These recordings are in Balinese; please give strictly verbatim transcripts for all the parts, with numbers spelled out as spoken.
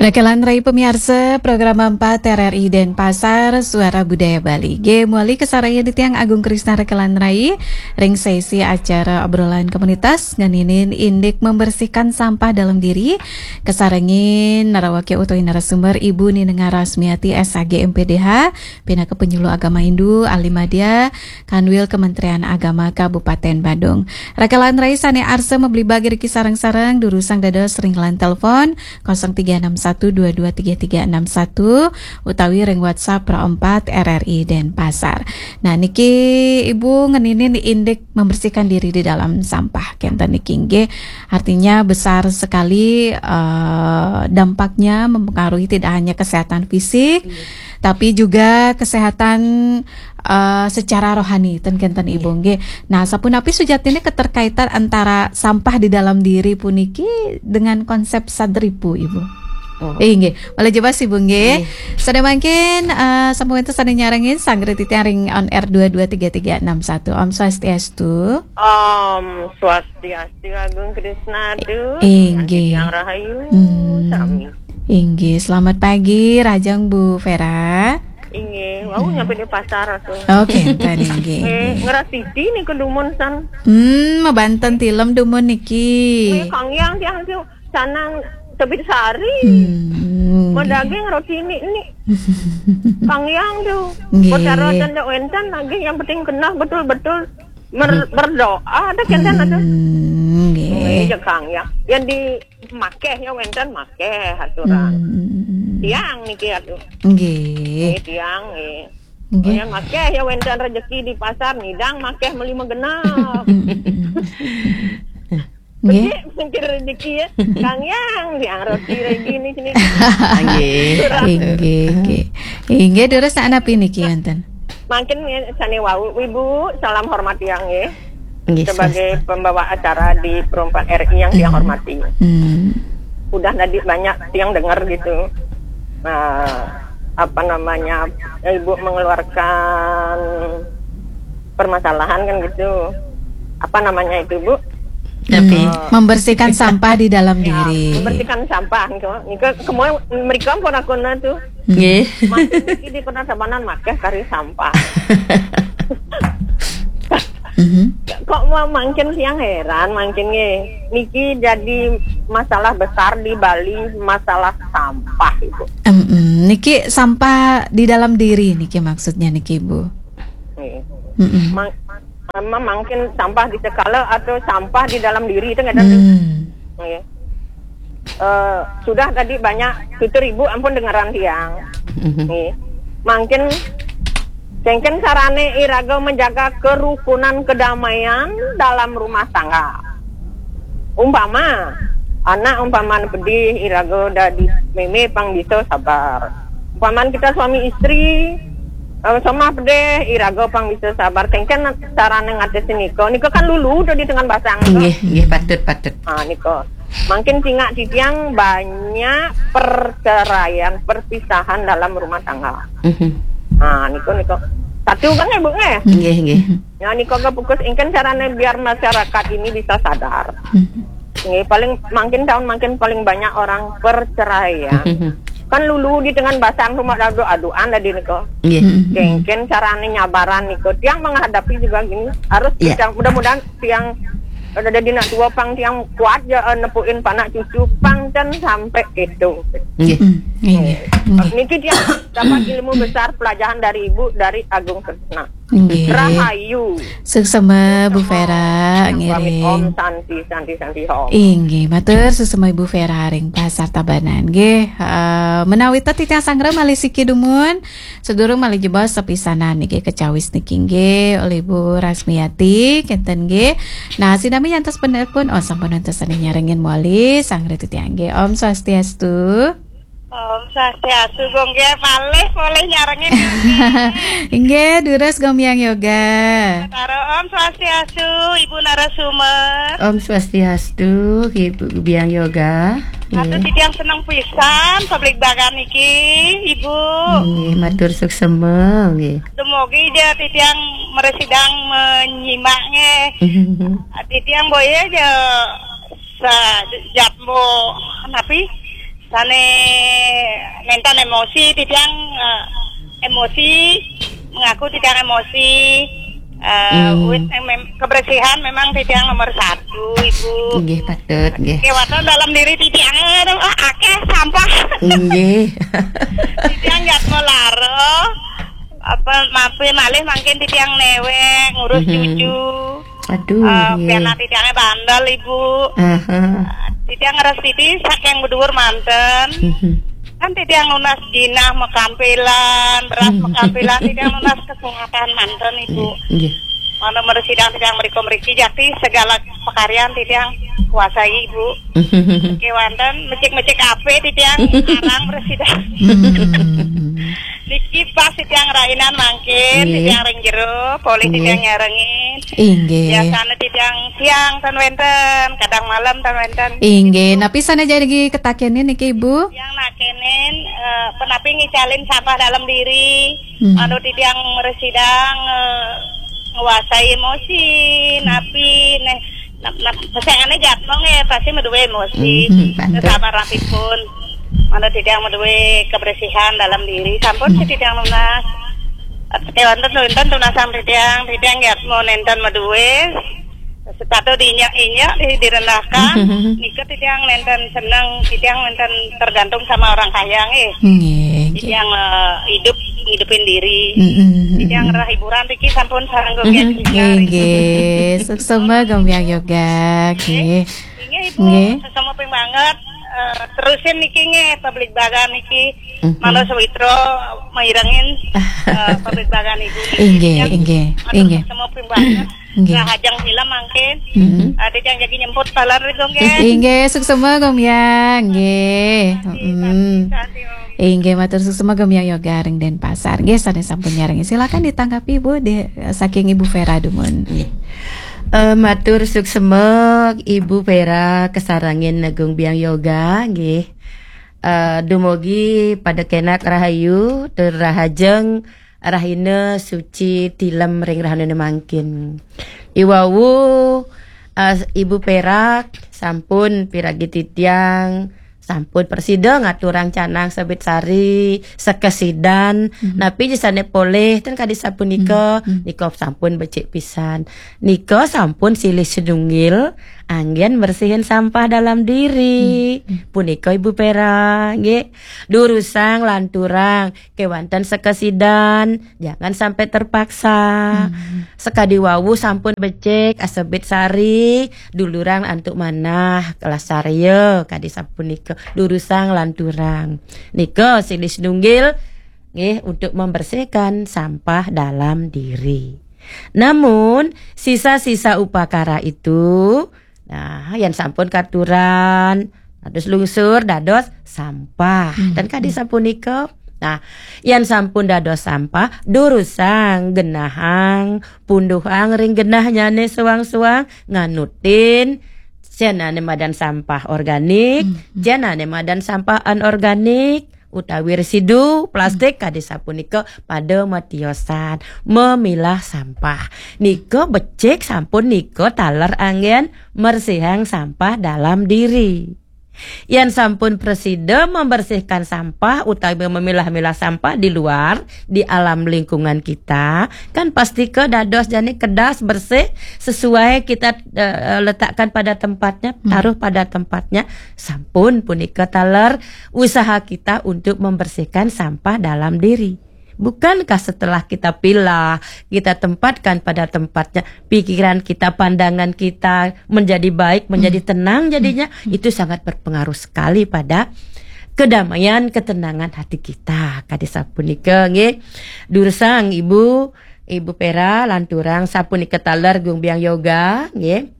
Rekelan Rai pemiarsa, program empat R R I Denpasar, Suara Budaya Bali. Nggih, mawali kasarengin titiang Agung Krisna Rekelan Rai, ring sesi acara obrolan komunitas, ngeninin indik membersihkan sampah dalam diri, kasarengin narawaka utawi narasumber Ibu Ninengah Rasmiati, S Ag, M P D H, pinaka penyuluh agama Hindu, ahli madya, Kanwil Kementerian Agama Kabupaten Badung. Rekelan Rai sane arsa mabligbaga riki sareng-sareng, durusang dados ring line telepon, kosong tiga enam satu dua dua tiga tiga enam satu, utawi ring WhatsApp Pro empat R R I Denpasar. Nah, niki Ibu ngeninin indik membersihkan diri di dalam sampah. Kenten niki nggih, artinya besar sekali, eh, dampaknya mempengaruhi tidak hanya kesehatan fisik, tapi juga kesehatan, eh, secara rohani, ten kenten Ibu nggih. Nah, sapunapi sujatine keterkaitan antara sampah di dalam diri puniki dengan konsep sadripu, Ibu? Oh. Eh, nggih. Malih jebos, Ibu nggih. Nggih. Sane mangkin, eh, sampun wenten sane nyarengin, sanggra titiang ring on air dua dua tiga tiga enam satu. Om Swastiastu. Om Swastiastu, Agung Krisna, aduh. Inggih. Yang rahayu, hmm, sami. Inggih, selamat pagi, rahajeng Bu Vera. Inggih, wau nyampe di pasar aku. Oke, enten inggih, eh, inggih. Ngrasidi niku dumun san. Hmm, mabanten tilem dumun niki. Eh, Kang Yang tiang tu sanang tebit sari. Hmm. Mau daging roti ini, ini. Kang Yang tu. Nggih. Boten wenten nggih, yang penting kena betul-betul mer-, hmm, berdoa, ada kenten ada. Hmm, nggih. Nggih, ya, Kang, ya. Yang di makeh ya wenten makeh aturan. Hmm. Tiang niki atuh. Nggih. Nggih, tiang nggih. Nggih. Yang makeh ya wenten rezeki di pasar, nidang makeh meli magenep. Nggih. Becik mungkin rezeki ya. Kang Yang, yang roti lagi ni sini. Nggih. Inggih, nggih. Inggih, durus anapi niki wonten? Mangkin ya, sane wau, Ibu, salam hormat yang nggih. Nggih, sebagai swasta. Pembawa acara di Pro empat R I yang tiang hormati. Hmm. Udah tadi banyak yang dengar gitu. Nah, apa namanya, Ibu mengeluarkan permasalahan kan gitu. Apa namanya itu, Bu? Tapi hmm, membersihkan sampah di dalam, ya, diri. Membersihkan sampah gitu. Niku semua mereka pun aku tuh. Nggih. Makin niki di kota Tabanan makeh kari sampah. Mhm. Kok mau mangkin tiang heran, mangkin nggih. Niki jadi masalah besar di Bali, masalah sampah, Ibu. Em, em, niki sampah di dalam diri niki maksudnya niki, Bu. Nggih. Mm-mm. Mang-, memang mungkin sampah di sekala atau sampah di dalam diri itu nggak ada. Hmm. Nggih. Eh, sudah tadi banyak tutur Ibu ampun dengeran tiang. Mhm. Nggih. Mungkin kengken carane iraga menjaga kerukunan kedamaian dalam rumah tangga. Umpama anak umpama pedih iraga dadi meme pang bisa sabar. Umpama kita suami istri, eh, somah pedih iraga pang bisa sabar. Kengken carane ngatasi nika. Nika kan lulu tadi dengan basang. Nggih, nggih, patut, patut. Ha, nika. Mungkin tingak titiang banyak perceraian, perpisahan dalam rumah tangga. Mhm. Ha, nika, nika. Satu kan, Ibu, nggih? Nggih, nggih. Ya, nika ke fokus ingken carane biar masyarakat ini bisa sadar. Mhm. Nggih, paling mungkin tahun mungkin paling banyak orang perceraian. Mhm. Kan lulu di dengan basang rumah dadu aduan tadi nika. Nggih. Mhm. Kengken carane nyabaran nika. Tiang menghadapi juga gini. Harus, iya, tiang, mudah-mudahan tiang ada di nak tua pang tiang kuat ya, eh, nepuin panak cucu pang kan sampai itu. Nggih. Hmm, nggih, nggih. Nggih. Niki tiang dapat ilmu besar pelajaran dari Ibu, dari Agung Kresna. Nggih. Rahayu. Suksema, Bu Vera, ngiring. Om Santi, Santi, Santi, Om. Inggih, matur suksema Ibu Vera ring Pasar Tabanan. Nggih, eh, menawi titiang sanggra malih siki dumun, sedurung malih jebos sepisanan niki kacawis niki nggih oleh Bu Rasmiati, kenten nggih. Nah, sinami nyantos penelpon, oh, sampun wonten sane nyarengin malih, sanggra titiang nggih. Om Swastiastu. Om Swastiastu, Gung, nggih, malih polih nyarengin, Gung, nggih. Inggih, durus Gung Biang Yoga. Karo Om Swastiastu, Ibu narasumber. Om Swastiastu, Ibu Biang Yoga. Aduh, nggih. Titiang seneng pisan, publik bagan niki, Ibu. Nggih, matur suksema, nggih. Dumogi ja titiang meresidang menyimak, nggih. Titiang boya ja sa-, jambo, napi? Sane nenten emosi, titiang, eh, emosi, mengaku titiang emosi. Eh, Hmm. Wit, eh, mem- kebersihan memang titiang nomor satu, Ibu. Nggih, patut, nggih. Kewatan dalam diri titiang, eh, ah, akeh sampah. Nggih. Titiang nggak mau laro. Apa mampir malih mangkin titiang newek ngurus Mhm. cucu. Aduh, Eh, nggih. Pianak titiangnya bandel, Ibu. Aha. Titiang ngeres titi saking beduur manten. Mhm. Kan titiang nunas jinah mekampilan, beras Mhm. mekampilan, titiang nunas kesehatan manten, Ibu. Nggih. Mana meresidang titiang meriko meriki jati segala pekaryan titiang kuasai, Ibu. Mhm. Kewanten mecik-mecik ape titiang arang meresidang. Hmm. Niki pas titiang rainan mangkin, Nggih. titiang ring jero, polih Nggih. titiang nyarengin. Inggih. Biasanya titiang siang ten wenten, kadang malam ten wenten. Inggih, napi sane jagi ketakenin niki, Ibu? Yang nakenin, eh, penapi ngicalin sampah dalam diri, Hmm. anu titiang meresidang, eh, nguasai emosi, napi neh, nap, nap, pesengane jatmong ya pasti meduwe emosi. Mhm, bantu. Sabar rapipun. Mana titiang meduwe kebersihan dalam diri, sampun Hmm. titiang nunas. Kewanten nenten tunasang titiang, titiang jatmo nenten meduwe. Sepatu diinjak-injak, di, direndahkan. Nika titiang nenten seneng, titiang nenten tergantung sama orang kaya, nggih. Nggih, nggih. Titiang, eh, hidup, ngidupin diri. Mm-mm. Titiang rerah hiburan, riki sampun sareng Gung Mhm. Yajika, riki. Inggih, suksema Gung Biang Yoga, nggih. Inggih, Ibu, Nggih. sesama ping banget. Eh, terusin niki nggih, pabligbagan niki. Mhm. Malah sawitra mairengin, eh, pabligbagan Ibu niki. Inggih, Yang inggih, matur inggih. sesama ping banget. Nggih. Rahajeng film mangkin. Mhm. Eh, titiang jagi nyemput taler, Gung, nggih. Inggih, suksema Gung Biang, nggih. Mm-mm. Santi, Om. Inggih, matur suksema Gung Biang Yoga ring Denpasar. Nggih, sane sampun nyarengin. Silakan ditanggapi, Bu, di, saking Ibu Vera dumun. Eh, matur suksema Ibu Vera kasarengin Gung Biang Yoga, nggih. Eh, dumugi pada kenak rahayu, tur rahajeng rahina suci tilem ring rahanane mangkin. Iwau, eh, Ibu Perak sampun piragi titiang, sampun prasida ngaturang canang sebit sari, sekesidan, Mhm. napi jisane polih, ten kadi sapunika, Mhm. nika sampun becik pisan. Nika sampun silih sinunggil anggen bersihin sampah dalam diri. Mhm. Punika Ibu Perak, nggih. Durusang lanturang, kewanten sekesidan, jangan sampai terpaksa. Mhm. Sekadi wau sampun becik, asebit sari, dulurang antuk manah, kelas sarya, kadi sapunika. Durusang lanturang. Nika silih sinunggil, nggih, untuk membersihkan sampah dalam diri. Namun, sisa-sisa upakara itu, nah, yang sampun katuran, terus lungsur dados sampah. Hmm. Dan kadi sapunika, nah, yang sampun dados sampah, durusang, genahang, punduhang ring genahnyane suang-suang, nganutin, jenane madan sampah organik, Hmm. jenane madan sampah anorganik, utawi residu plastik kadi sapunika pada matiosan memilah sampah. Nika becik sampun nika taler anggen mersihang sampah dalam diri. Yen sampun prasida membersihkan sampah utawi memilah-milah sampah di luar, di alam lingkungan kita, kan pastika dados jani kedas, bersih, sesuai kita, eh, letakkan pada tempatnya, Hmm. taruh pada tempatnya. Sampun punika taler usaha kita untuk membersihkan sampah dalam diri. Bukankah setelah kita pilah, kita tempatkan pada tempatnya, pikiran kita, pandangan kita menjadi baik, menjadi Hmm. tenang jadinya, Hmm. itu sangat berpengaruh sekali pada kedamaian, ketenangan hati kita. Kadi sapunika nggih. Durusang Ibu, Ibu Pera, lanturang sapunika taler Gung Biang Yoga, nggih.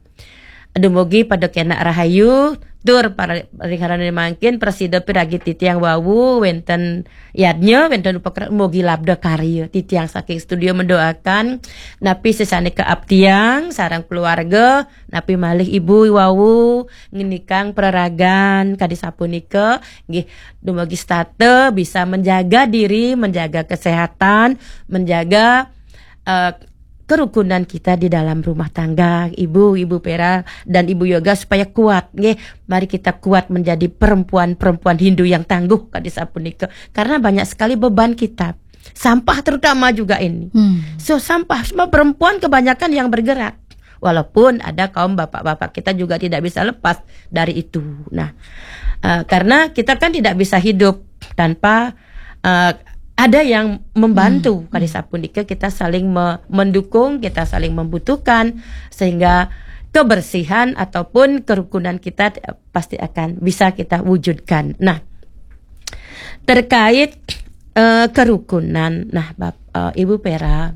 Dumugi pada kenak rahayu, tur para ring rahanane mangkin prasida piragi titiang wau wenten yadnya, wenten upakara, mugi labda karya. Titiang saking studio mendoakan napi sesane keabdiang sareng keluarga, napi malih ibu wau ngenikang peraragan kadi sapunika, nggih, dumugi setata bisa menjaga diri, menjaga kesehatan, menjaga, eh, kerukunan kita di dalam rumah tangga, Ibu, Ibu Pera dan Ibu Yoga, supaya kuat, nggih. Mari kita kuat menjadi perempuan-perempuan Hindu yang tangguh, kadi sapunika. Karena banyak sekali beban kita. Sampah terutama juga ini. Hmm. So, sampah, semua perempuan kebanyakan yang bergerak. Walaupun ada kaum bapak-bapak kita juga tidak bisa lepas dari itu. Nah, eh, karena kita kan tidak bisa hidup tanpa eh, ada yang membantu. Kadi sapunika, kita saling me- mendukung, kita saling membutuhkan, sehingga kebersihan ataupun kerukunan kita, eh, pasti akan bisa kita wujudkan. Nah, terkait eh, kerukunan, nah, Bap- eh, Ibu Pera,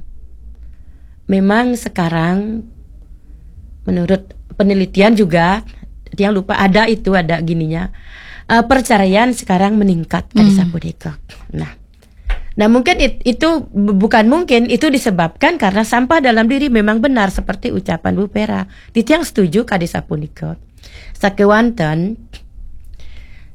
memang sekarang menurut penelitian juga, tiang lupa, ada itu, ada gininya, eh, perceraian sekarang meningkat, kadi sapunika. Nah, nah, mungkin it- itu bu- bukan mungkin, itu disebabkan karena sampah dalam diri memang benar seperti ucapan Bu Pera. Titiang setuju, kadi sapunika. Sakewanten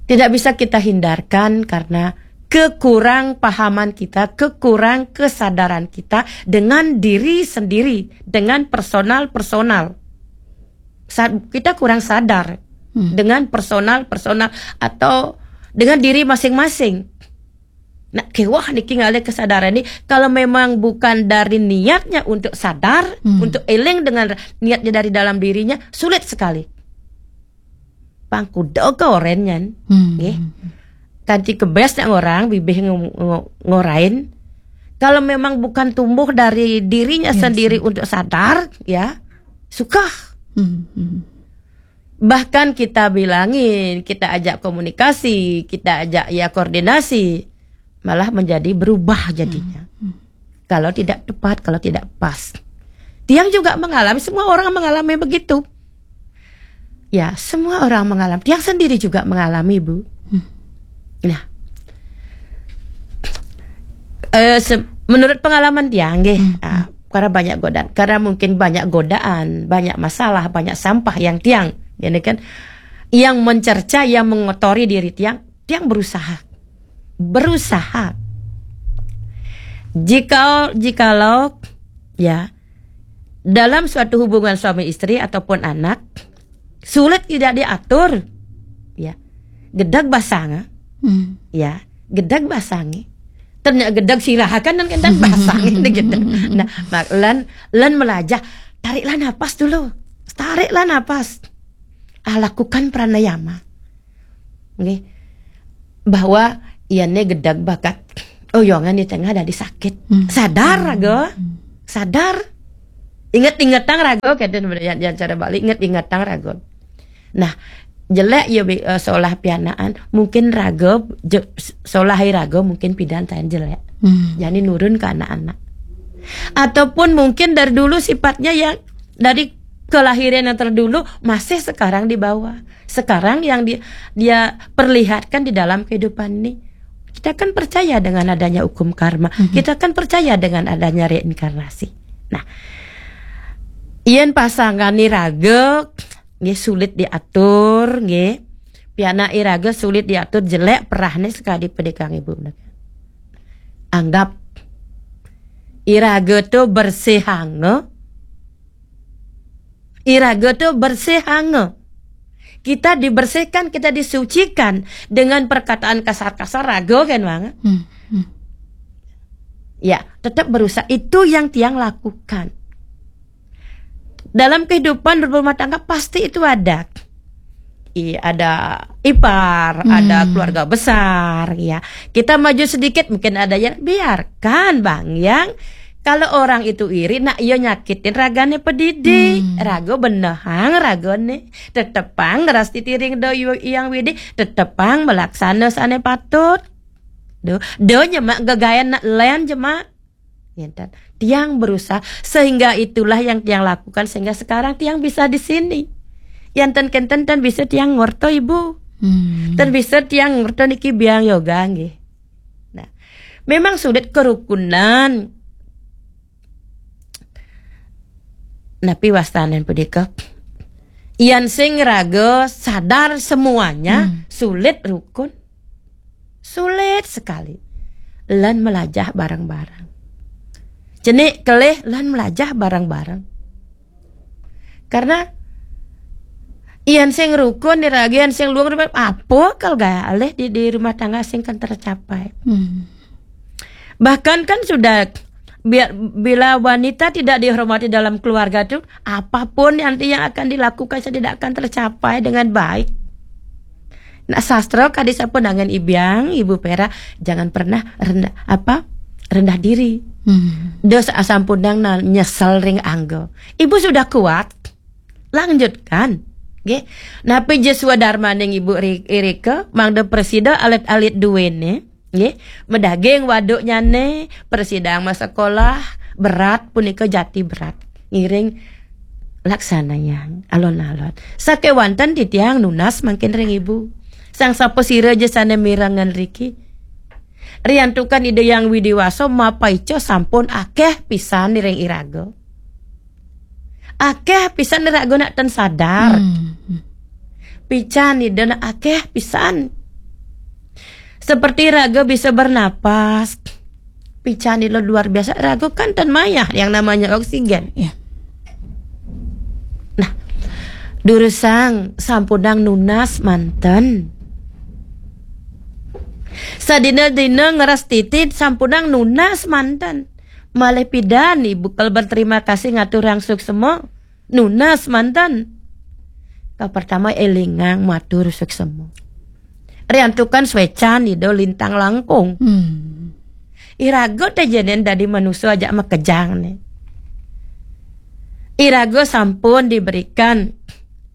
tidak bisa kita hindarkan karena kekurang pahaman kita, kekurang kesadaran kita dengan diri sendiri, dengan personal-personal. Sa- kita kurang sadar dengan personal-personal atau dengan diri masing-masing. Nah, kewah niki ngalih kesadaran ini, kalau memang bukan dari niatnya untuk sadar, untuk eling dengan niatnya dari dalam dirinya, sulit sekali. Pangkuda ke oren nyan. Hmm. Nggih. Kanti kebes nak ngorang, bibih ngo- ngo- ngorain. Kalau memang bukan tumbuh dari dirinya sendiri untuk sadar, ya, suka. Hmm. Hmm. Bahkan kita bilangin, kita ajak komunikasi, kita ajak ya koordinasi, malah menjadi berubah jadinya. Kalau tidak tepat, kalau tidak pas. Tiang juga mengalami, semua orang mengalami begitu. Ya, semua orang mengalami. Tiang sendiri juga mengalami, Bu. Nah, eh, se- menurut pengalaman tiang, nggih, ah, karena banyak godaan, karena mungkin banyak godaan, banyak masalah, banyak sampah yang tiang, ini kan, yang mencerca, yang mengotori diri tiang, tiang berusaha, berusaha. Jika jikalau ya, dalam suatu hubungan suami istri ataupun anak, sulit tidak diatur, ya, gedeg basang, Hmm. ya, gedeg basang. Ternyata gedeg sirah kan, dan kan basang ini gedeg. Nah, mak- lan lan melajah, tariklah napas dulu, tariklah napas. Ah, lakukan pranayama, nggih, bahwa iane gedeg bakat oyongan di tengah dari sakit. Sadar, raga, sadar. Inget-ingetang, raga, kenten, yang, yang cara Bali, inget-ingetang, raga. Nah, jelek ya, bi- eh, solah pianaan, mungkin raga, je- solah raga mungkin pidan tayan jelek. Hmm. Jadi nurun ke anak-anak. Ataupun mungkin dari dulu sifatnya yang dari kelahiran yang terdulu masih sekarang dibawa. Sekarang yang di- dia perlihatkan di dalam kehidupan ini. Kita kan percaya dengan adanya hukum karma. Kita kan percaya dengan adanya reinkarnasi. Nah, yen pasangan ni raga, nggih, sulit diatur, nggih. Pianak iraga sulit diatur, jelek perahne sekadi pedikang ibu. Anggap iraga tu bersihanga. Iraga tu bersihanga. Kita dibersihkan, kita disucikan dengan perkataan kasar-kasar, raga kan, Bang? Hmm. Hmm. Ya, tetap berusaha. Itu yang tiang lakukan. Dalam kehidupan berumah tangga pasti itu ada. I, ada ipar, ada keluarga besar, ya. Kita maju sedikit mungkin ada yang, biarkan, Bang, yang kalau orang itu iri, nak, iya nyakitin ragane pedidi. Raga benehang ragane. Tetepang ngeras titiring do yu- yang widi, tetepang melaksana sane patut. Do, do nyemak gegayan nak len jemak. Ngenten. Tiang berusaha sehingga itulah yang tiang lakukan sehingga sekarang tiang bisa di sini. Yang ten kenten ten bisa tiang ngorto, Ibu. Hmm. Ten bisa tiang ngorto niki biang yoga, nggih. Nah, memang sulit kerukunan. Napi wastanen punika? Yan sing raga sadar semuanya, sulit rukun. Sulit sekali. Lan melajah bareng-bareng. Cenik kelih lan melajah bareng-bareng. Karena yan sing rukun, iraga yan sing luung, apa kal galih di, di rumah tangga sing kan tercapai. Hmm. Bahkan kan sudah, bila wanita tidak dihormati dalam keluarga tuh, apapun nanti yang akan dilakukan saya tidak akan tercapai dengan baik. Nah, sastra kadi sampun nangan ibiang, Ibu Pera, jangan pernah rendah apa rendah diri. Hmm. Dos asampun nang nyesel ring angga. Ibu sudah kuat. Lanjutkan. Nggih. Napi jeswa darmaning Ibu irika mangda presida alit-alit duwene. Nggih, medaging waduknyane, persidang masekolah, berat punika jati berat. Ngiring laksanayang alon-alon. Sakewanten titiang nunas mangkin ring ibu. Sang sapa sira ja sane mirengan riki. Riantukan Ida Yang Widiwasa mapaica sampun akeh pisan ring iraga. Akeh pisan iraga nak ten sadar. Hmm. Pican Ida nak akeh pisan. Seperti raga bisa bernapas. Pican Ida luar biasa. Raga kan ten mayah yang namanya oksigen. Ya. Nah, durusang sampunang nunas manten. Sadina-dina ngeras titit sampunang nunas manten. Malih pidan ibu kal berterima kasih ngaturang suksema. Nunas manten. Ka pertama elingang matur suksema. Riantukan swecan Ida lintang langkung. Hmm. Iraga te jenen dadi manusa ajak makejang ne. Iraga sampun diberikan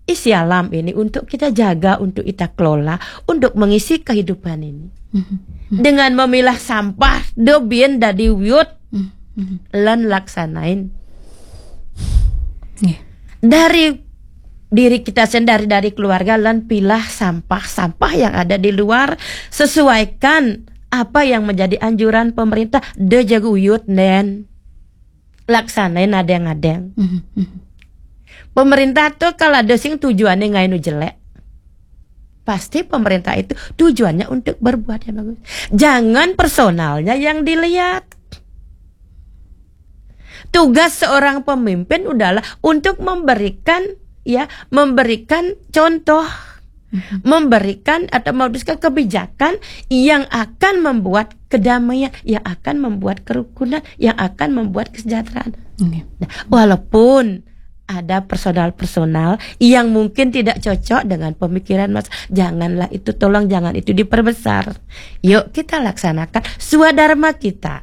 isi alam ini untuk kita jaga, untuk kita kelola, untuk mengisi kehidupan ini. Hmm. Dengan memilah sampah, do bin dadi wiut Hmm. Lan laksanain. Nggih. Dari diri kita sendiri, dari keluarga, lan pilah sampah-sampah yang ada di luar, sesuaikan apa yang menjadi anjuran pemerintah. De jaga uyut nen. Laksanain adeng-adeng. Mhm, mhm. Pemerintah tuh kalau ada sing tujuannya ngainu jelek, pasti pemerintah itu tujuannya untuk berbuat yang bagus. Jangan personalnya yang dilihat. Tugas seorang pemimpin adalah untuk memberikan, ya, memberikan contoh, memberikan atau memutuskan kebijakan yang akan membuat kedamaian, yang akan membuat kerukunan, yang akan membuat kesejahteraan. Oke. Nah, walaupun ada personal-personal yang mungkin tidak cocok dengan pemikiran Mas, janganlah itu, tolong jangan itu diperbesar. Yuk kita laksanakan swadharma kita.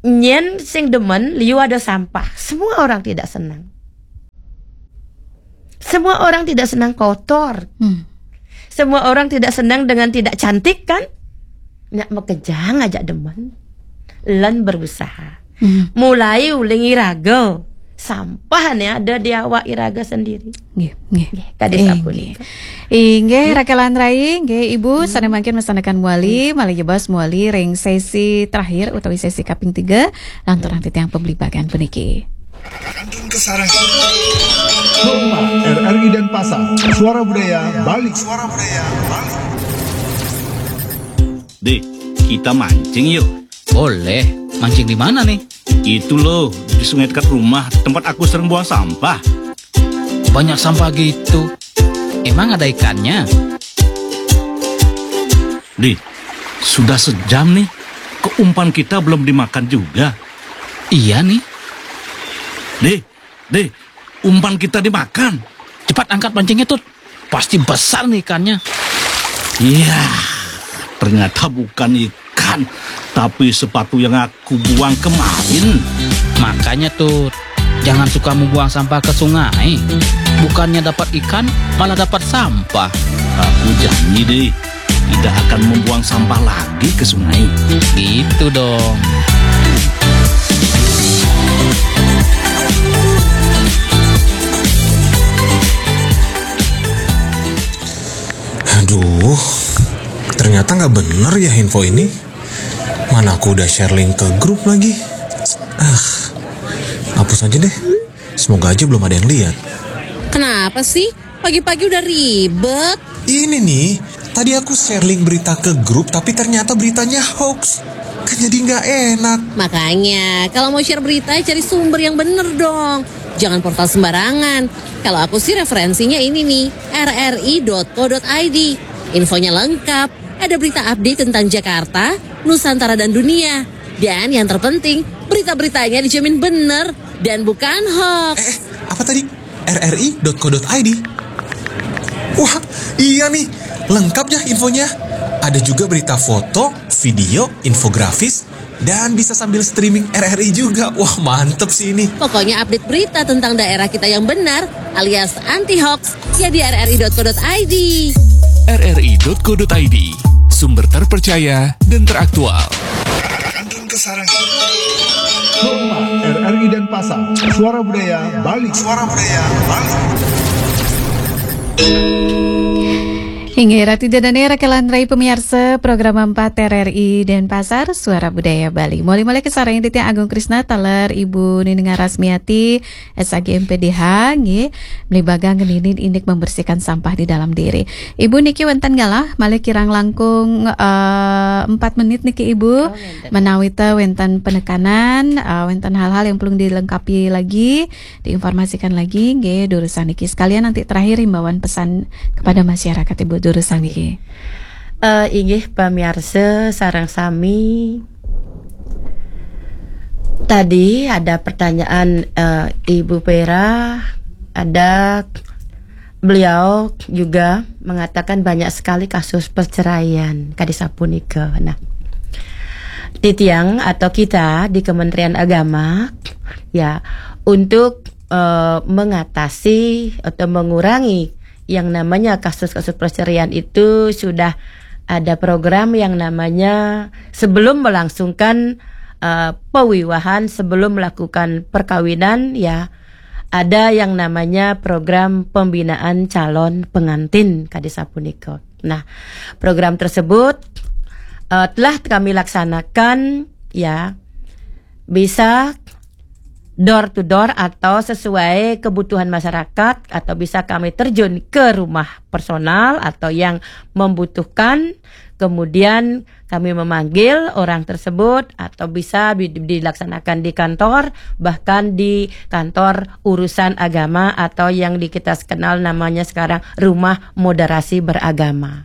Nyen sing demen liu ada sampah. Semua orang tidak senang. Semua orang tidak senang kotor. Hmm. Semua orang tidak senang dengan tidak cantik kan? Nak makejang ajak demen. Lan berusaha. Hmm. Mulai uling iraga. Sampah ne ada di awak iraga sendiri. Nggih, nggih. Nggih, kadi sapunika. Inggih, Rakelan Rai, inggih Ibu, hmm, sane mangkin masandekan muali, malih jebos muali ring sesi terakhir utawi sesi kaping tiga, lanturang titiang pemlibakan puniki. Kantun Kesarang. Rumah R R I Denpasar. Suara Budaya Bali. Suara Budaya Bali. Dek, kita mancing yuk. Boleh. Mancing di mana nih? Itu loh, di sungai dekat rumah, tempat aku sering buang sampah. Banyak sampah gitu. Emang ada ikannya? Dek, sudah sejam nih. Kok umpan kita belum dimakan juga? Iya nih. Dek, dek, umpan kita dimakan. Cepat angkat pancingnya, Tut. Pasti besar nih ikannya. Iya, ternyata bukan ikan, tapi sepatu yang aku buang kemarin. Makanya, Tut, jangan suka membuang sampah ke sungai. Bukannya dapat ikan, malah dapat sampah. Aku janji deh, tidak akan membuang sampah lagi ke sungai. Gitu dong. Aduh, ternyata nggak bener ya info ini. Mana aku udah share link ke grup lagi. Ah, hapus aja deh. Semoga aja belum ada yang lihat. Kenapa sih? Pagi-pagi udah ribet. Ini nih, Tadi aku share link berita ke grup, tapi ternyata beritanya hoax. Kan jadi nggak enak. Makanya, kalau mau share berita, cari sumber yang bener dong. Jangan portal sembarangan. Kalau aku sih referensinya ini nih, rri.co.id. Infonya lengkap, ada berita update tentang Jakarta, Nusantara dan dunia. Dan yang terpenting, berita-beritanya dijamin bener dan bukan hoax. Eh, apa tadi? rri.co.id. Wah, iya nih, lengkap ya infonya. Ada juga berita foto, video, infografis, dan bisa sambil streaming R R I juga. Wah, mantep sih ini. Pokoknya update berita tentang daerah kita yang benar alias anti hoax ya di rri.co.id. rri.co.id, sumber terpercaya dan teraktual. Rumah R R I Denpasar, Suara Budaya Bali. Suara Budaya Bali. Inggih, Ratu Dadan Era Kelandrai, pemirsa program empat R R I Denpasar, Suara Budaya Bali. Moli-moli kasarengin titiang Agung Krisna taler Ibu Nining Rasmiati, S A G M P D H, nggih, melibaga ngeninin indik membersihkan sampah di dalam diri. Ibu niki wenten galah, malih kirang langkung eh, empat menit niki Ibu. Oh, menawita wenten penekanan, eh, wenten hal-hal yang perlu dilengkapi lagi, diinformasikan lagi, nggih, durusang niki. Sekalian nanti terakhir himbauan pesan kepada masyarakat, Ibu, durusang niki. Eh, inggih, pemirsa sareng sami. Tadi ada pertanyaan, eh, Ibu Vera, ada beliau juga mengatakan banyak sekali kasus perceraian kadi sapunika. Nah, titiang atau kita di Kementerian Agama, ya, untuk eh, mengatasi atau mengurangi yang namanya kasus-kasus perceraian itu sudah ada program yang namanya sebelum melangsungkan eh, pewiwahan, sebelum melakukan perkawinan, ya, ada yang namanya program pembinaan calon pengantin kadi sapunika. Nah, program tersebut eh, telah kami laksanakan, ya, bisa door to door atau sesuai kebutuhan masyarakat, atau bisa kami terjun ke rumah personal atau yang membutuhkan, kemudian kami memanggil orang tersebut atau bisa dilaksanakan di kantor, bahkan di kantor urusan agama atau yang di kita kenal namanya sekarang rumah moderasi beragama.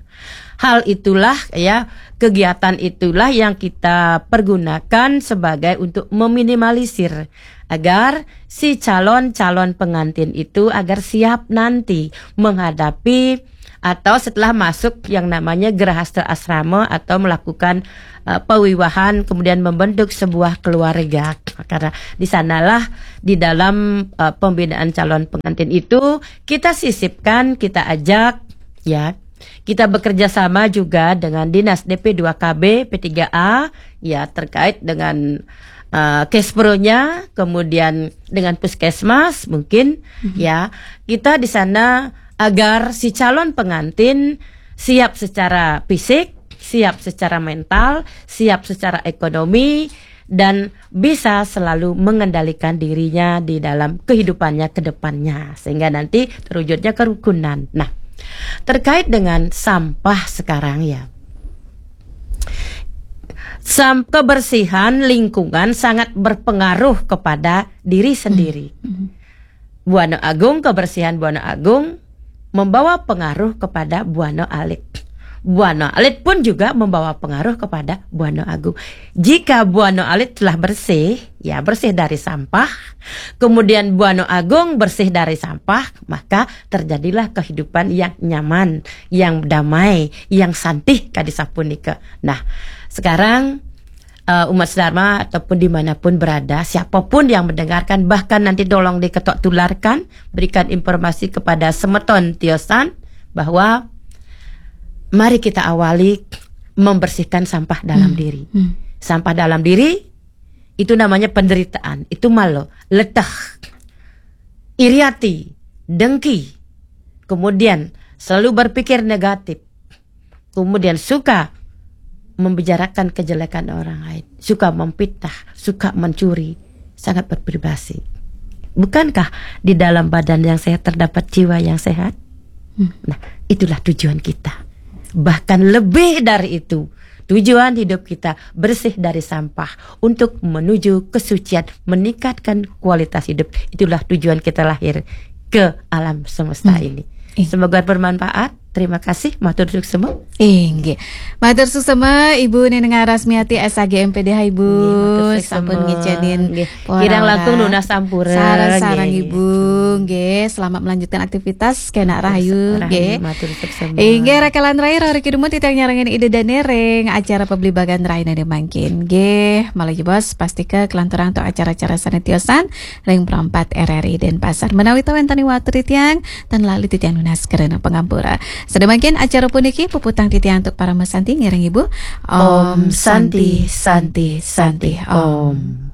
Hal itulah, ya, kegiatan itulah yang kita pergunakan sebagai untuk meminimalisir agar si calon-calon pengantin itu agar siap nanti menghadapi atau setelah masuk yang namanya gerahasta asrama atau melakukan uh, pewiwahan, kemudian membentuk sebuah keluarga. Karena di sanalah di dalam uh, pembinaan calon pengantin itu kita sisipkan, kita ajak, ya, kita bekerja sama juga dengan Dinas D P dua K B, P tiga A, ya, terkait dengan uh, kespronya, kemudian dengan puskesmas mungkin, ya, kita di sana agar si calon pengantin siap secara fisik, siap secara mental, siap secara ekonomi, dan bisa selalu mengendalikan dirinya di dalam kehidupannya ke depannya, sehingga nanti terwujudnya kerukunan. Nah, terkait dengan sampah sekarang, ya, sam kebersihan lingkungan sangat berpengaruh kepada diri sendiri. Buana Agung, kebersihan Buana Agung membawa pengaruh kepada Buana Alit. Buana Alit pun juga membawa pengaruh kepada Buana Agung. Jika Buana Alit telah bersih, ya, bersih dari sampah, kemudian Buana Agung bersih dari sampah, maka terjadilah kehidupan yang nyaman, yang damai, yang santih kadi sapunika. Nah, sekarang uh, umat sedharma ataupun dimanapun berada, siapapun yang mendengarkan, bahkan nanti tolong diketok tularkan, berikan informasi kepada semeton tiosan bahwa mari kita awali membersihkan sampah dalam hmm. diri. Hmm. Sampah dalam diri itu namanya penderitaan, itu malo, leteh, iri ati, dengki, kemudian selalu berpikir negatif, kemudian suka membicarakan kejelekan orang lain, suka memfitnah, suka mencuri, sangat berprivasi. Bukankah di dalam badan yang sehat terdapat jiwa yang sehat? Hmm. Nah, itulah tujuan kita. Bahkan lebih dari itu, tujuan hidup kita bersih dari sampah untuk menuju kesucian, meningkatkan kualitas hidup. Itulah tujuan kita lahir ke alam semesta Hmm. ini. Iya. Semoga bermanfaat. Terima kasih, matur suksema. Inggih. Matur suksema Ibu Neneng Rasmiati S A G M P D H Ibu. Nggih, matur suksema. Sampun ngicenin Nggih. pora Kirang langkung ora. nunas sampura, Sareng-sareng nggih. Ibu. Nggih, selamat melanjutkan aktivitas kena rahayu Rahayu, nggih. Matur suksema. Inggih, rekan lan rai, rori kidumut titiang nyarengin Ida Dane ring acara pabligbagan raina mangkin. Nggih, malih jebos pastika kalanturang antuk acara-acara sane tiosan ring Pro empat R R I Denpasar. Menawi ta wenten watur titiang, tan lali titiang nunas karana pangampura. Sadaya mangkin acara puniki puputang titiang antuk parama santi ngiring Ibu. Om Santi, Santi, Santi, Om.